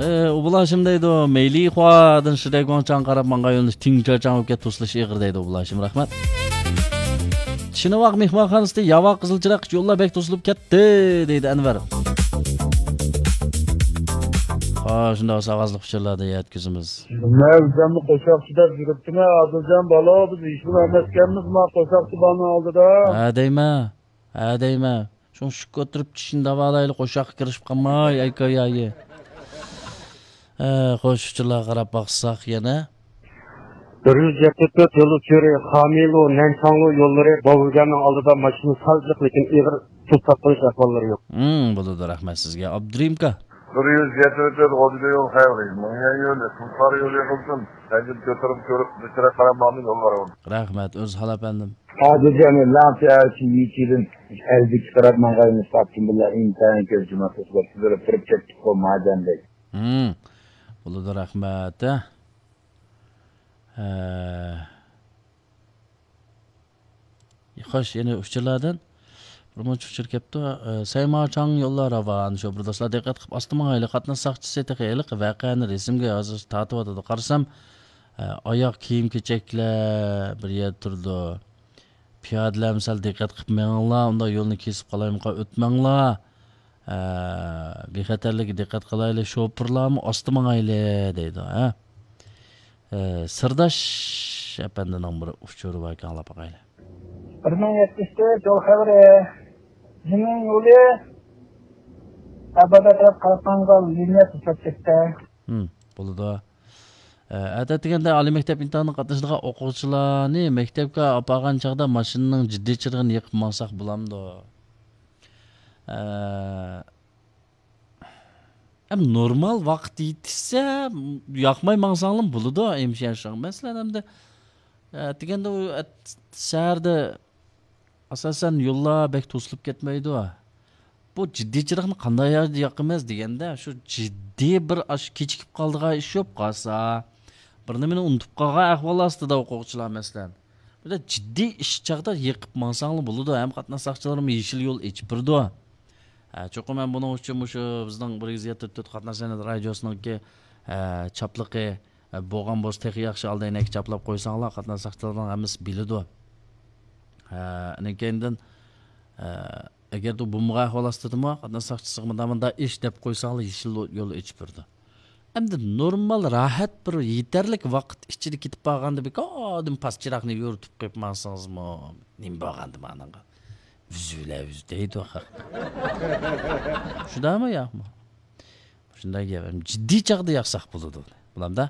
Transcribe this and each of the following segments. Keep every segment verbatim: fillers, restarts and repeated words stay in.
ئۇ بۇلاشىم دەيدۇ، مەيلى خۇادىن شىدەي گۇاڭچاڭ قاراپ ماڭغان يۆنىلىش تىڭچاچاڭ بولۇپ كەت، توسۇلۇش ئېغىر دەيدۇ ئۇ بۇلاشىم. رەھمەت. شىنىۋاق مېھمانخانىسىدا ياۋا قىزىل چىراغ يوللار بەك توسۇلۇپ كەتتى دەيدۇ ئەنۋەر. ھا، شۇنداق بولسا ئاۋازلىق ئۇچۇرلاردا يەتكۈزىمىز. مەۋزەمنى قوشاقچى دەپ يۈرۈپتىمەن، ئادىلجان بالا، بىز ھېچنېمە ئەمەسكەنمىز ما قوشاقچى بالىنىڭ ئالدىدا. ھە دەيمە، ھە دەيمە. شۇڭشۇق كۆتۈرۈپ چىشىنى داۋالايلى، قوشاققا كىرىشىپ قالماي، ئەيكايايى. ئە، خوش، ئۇچۇرلارغا قاراپ باقساق يەنە. بىر يۈز يەتتە تۆت يول ئۇچۇرى، خامىلۇ، نەنچاڭلۇ يوللىرى، باۋۇگەننىڭ ئالدىدا ماشىنا سالجىق، لېكىن ئېغىر تۇز تارتقۇزۇش ئەھۋاللىرى يوق. ھىم، بولىدۇ، رەھمەت سىزگە، ئابدۇرېھىم ئاكا. بىر يۈز يەتتە تۆت غوجىدا يول خەۋىرى، مۇڭيەن يولى، قۇمسارى يولى قىلسۇن، سەنجىپ كۆتۈرۈپ كۆرۈپ، بىچارە قاراپ ماڭدىم يوللارغا. رەھمەت، ئۆز ھال ئەپەندىم. ھازىر يەنە لەڭچە ئەلچى يىچىدىن ئەلبىككە قاراپ ماڭغان ساپتىن بىللە ئىنتايىن كۆز جۇماسىز بولۇپ، سىزىلىپ تۇرۇپ كەتتۇققۇ مادەم دەيدۇ. ھىم. بولىدۇ، رەھمەت، ھە. ھە. خوش، يەنە ئۇچۇرلاردىن بىر مۇنچە ئۇچۇر كەپتۇ. ئە، سەيماچاڭ يوللار راۋان. شۇ بىر دوستلار دىققەت قىلىپ ئاستىماڭايلى. قاتناش ساقچىسى تېخى ھېلىقى ۋەقەنى رەسىمگە ھازىر تارتىۋاتىدۇ. قارىسام، ئە، ئاياغ كىيىم-كېچەكلەر بىر يەردە تۇرىدۇ. پىيادىلەرمۇ سەل دىققەت قىلىپ مېڭىڭلار، ئۇنداق يولنى كېسىپ قالايمىقان ئۆتمەڭلار. ئە، بىخەتەرلىككە دىققەت قىلايلى، شوپۇرلارمۇ ئاستا ماڭايلى دەيدۇ، ھە. ئە، سىرداش ئەپەندىنىڭ بىر ئۇچۇرى باركەن، ئاڭلاپ باقايلى. بىر مىڭ يەتمىش تۆت يول خەۋىرى. جىمىڭ يولى ئابادا تەرەپ قاراپ ماڭغان لىنىيە توسۇلۇپ كەتتى. ھىم، بولىدۇ. ئە، ئەتە دېگەندە ئالىي مەكتەپ ئىمتىھانىغا قاتنىشىدىغان ئوقۇغۇچىلارنى مەكتەپكە ئاپارغان چاغدا ماشىنىنىڭ جىددىي چىرىغىنى يېقىپ ماڭساق بولامدۇ؟ ئە، ئەم، نورمال ۋاقىت يېتىشسە، ياقماي ماڭساڭلىمۇ بولىدۇ، ھەمشىيە شۇڭا. مەسىلەن، ئەمدى، ئە، دېگەندە ئۇ، ئەت-، شەھەردە ئاساسەن يوللار بەك توسۇلۇپ كەتمەيدۇ. بۇ جىددىي چىراغنى قانداق يەردە ياقىمىز دېگەندە، شۇ جىددىي بىر ئاش-، كېچىكىپ قالىدىغان ئىش بولۇپ قالسا، بىر نېمىنى ئۇنتۇپ قالغان ئەھۋال ئاستىدا ئوقۇغۇچىلار، مەسىلەن. بىردە جىددىي ئىش چاغدا يېقىپ ماڭساڭلا بولىدۇ، ھەم قاتناش ساقچىلىرىمۇ يېشىل يول ئېچىپ بېرىدۇ. ھە، چوقۇم مەن بۇنىڭ ئۈچۈن مۇشۇ بىزنىڭ بىر يۈز يەتتە تۆت قاتناش سەنئەت رادىيوسىنىڭكى، ھە، چاپلىقى، ھە، بولغان بولسا تېخى ياخشى، ئالدى ئەينەككە چاپلاپ قويساڭلار، قاتناش ساقچىلىرىنىڭ ھەممىسى بىلىدۇ. ھە، ئىنىڭ كەينىدىن، ھە، ئەگەر بولمىغان ئەھۋال ئاستىدىمۇ، قاتناش ساقچىسىغا مۇنداق، مۇنداق ئىش دەپ قويساڭلار، يېشىل يول ئېچىپ بېرىدۇ. ئەمدى نورمال، راھەت بىر يېتەرلىك ۋاقىت ئىچىدە كېتىپ بارغاندا، بىكاردىن پاس چىراغنى يورۇتۇپ قويۇپ ماڭسىڭىزمۇ، نېمە بولغاندىمۇ ئانىڭغا؟ ۋۈزۈلە ۋۈز دەيدۇ خەق. شۇنداقمۇ ياقمۇ؟ شۇنداق گەپ. جىددىي چاغدا ياقساق بولىدۇ. بولامدا؟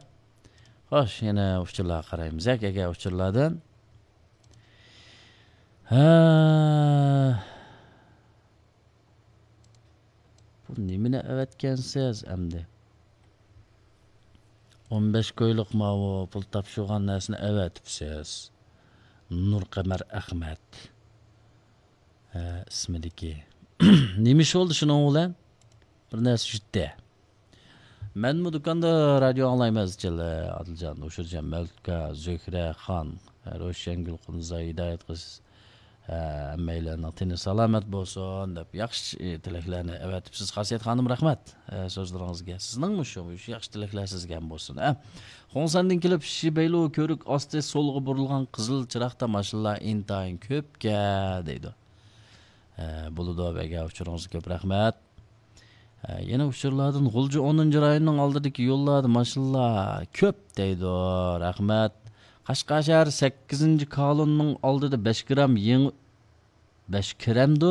خوش، يەنە ئۇچۇرلارغا قارايمىز. ياكى ئەگەر ئۇچۇرلاردىن. ھە. بۇ نېمىنى ئەۋەتكەنسىز ئەمدى؟ ئون بەش كويلۇق ماۋۇ پۇل تاپشۇرغان نەرسىنى ئەۋەتىپسىز. نۇرقەمەر ئەخمەت، ھە، ئىسمىدىكى. نېمە ئىش بولدى شۇنىڭ بىلەن؟ بىر نەرسە يۈتتى. مەنمۇ دۇكاندا رادىيو ئاڭلايمەن ئىزچىل، ئادىلجان، ھوشۇرجان، مەۋلۇتكا، زۆھرە خان، روشەنگۈل قۇنزا، ھىدايەت قىز، ھەممەيلەننىڭ تېنى سالامەت بولسۇن دەپ ياخشى تىلەكلەرنى ئەۋەتىپسىز. خاسىيەت خانىم، رەھمەت، ئە، سۆزلىرىڭىزگە. سىزنىڭمۇ شۇ، شۇ ياخشى تىلەكلەر سىزگە ھەم بولسۇن، ئە. خۇڭسەندىن كېلىپ شى بەيلۇ كۆۋرۈك ئاستى سولغا بۇرۇلغان قىزىل چىراغدا ماشىنىلار ئىنتايىن كۆپكەن دەيدۇ. ئە، بولىدۇ، بەگە ئۇچۇرىڭىزغا كۆپ رەھمەت. ئە، يەنە ئۇچۇرلاردىن، غۇلجا ئونىنچى رايوننىڭ ئالدىدىكى يوللاردا ماشىنىلار كۆپ دەيدۇ. رەھمەت. قەشقەر شەھەر سەككىزىنچى كالوننىڭ ئالدىدا بەش گرام يېڭى، بەش گرامدۇ؟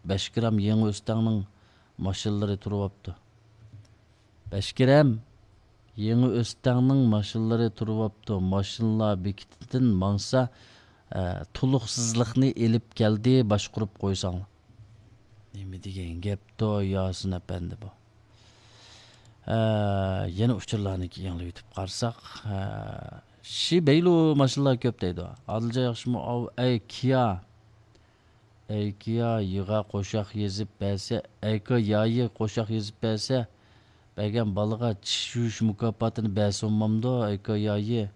بەش گرام يېڭى ئۆستەڭنىڭ ماشىنىلىرى تۇرۇۋاپتۇ. بەش گرام يېڭى ئۆستەڭنىڭ ماشىنىلىرى تۇرۇۋاپتۇ. ماشىنىلار بېكىتىدىن ماڭسا، ئە، تولۇقسىزلىقنى ئېلىپ كەلدى، باشقۇرۇپ قويساڭلار. نېمە دېگەن گەپتۇ، ياسىن ئەپەندى بۇ؟ ئە، يەنە ئۇچۇرلارنى يېڭىلىۋېتىپ قارىساق، ئە، شى بەيلۇ ماشىنىلار كۆپ دەيدۇ. ئادىلجان ياخشىمۇ ئاۋۇ، ئەي كىيا. ئەي كىيا، يىغا قوشاق يېزىپ بەرسە، ئەي كىيايى قوشاق يېزىپ بەرسە، بەرگەن بالىغا چىش يۇيۇش مۇكاپاتىنى بەرسە بولمامدۇ، ئەي كىيايى؟